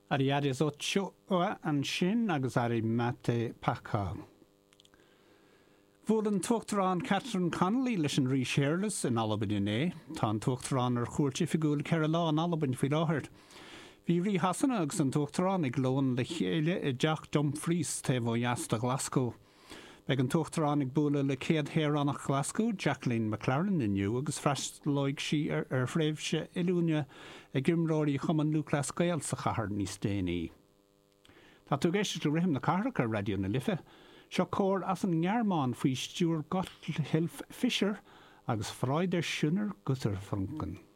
Ariadis Ochoa ansin agus Ari Mate Paca. Bhuail an tUachtarán Catherine Connolly leis an Rí Séarlas in Albain inné. Tá an tUachtarán ar chuairt oifigiúil 4 lá in Albain faoi láthair. Bhí Rí Shasana agus an tUachtarán ag lón le chéile i dTeach Dumfries taobh ó dheas de Ghlaschú. Beidh an tUachtarán ag bualadh le céad shaoránach Ghlaschú, Jacqueline McLaren, inniu agus freastalóidh sí ar thréimhse oiliúna ag imreoirí Chumann Lúthchleas Gael sa chathair níos déanaí. Tá tú ag éisteacht le Rithim na Cathrach ar Raidió na Life. Seo cór as an nGearmáin faoi stiúir Gotthilf Fischer agus Freude schöner Götterfunken.